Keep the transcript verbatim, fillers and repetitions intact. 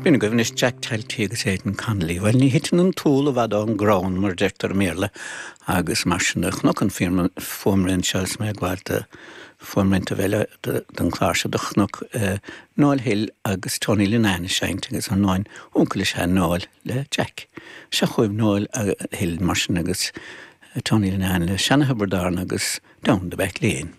B'in agaibh anois Jack Talty agus Aidan Connolly. Well ní thiteann an t-úll i bhfad ón gcrann mar deirtear i mBéarla agus mar sin de chonac an fuaimrian seo is mé ag gabháil do fuaimrianta eile don chlár seo do chonac Noel Hill agus Tony Linnane ag seinnt agus an náin uncail is ea Noel le Jack. Seo chugaibh Noel Hill mar sin agus Tony Linnane le Seanathobar Darn agus Down the Back Lane.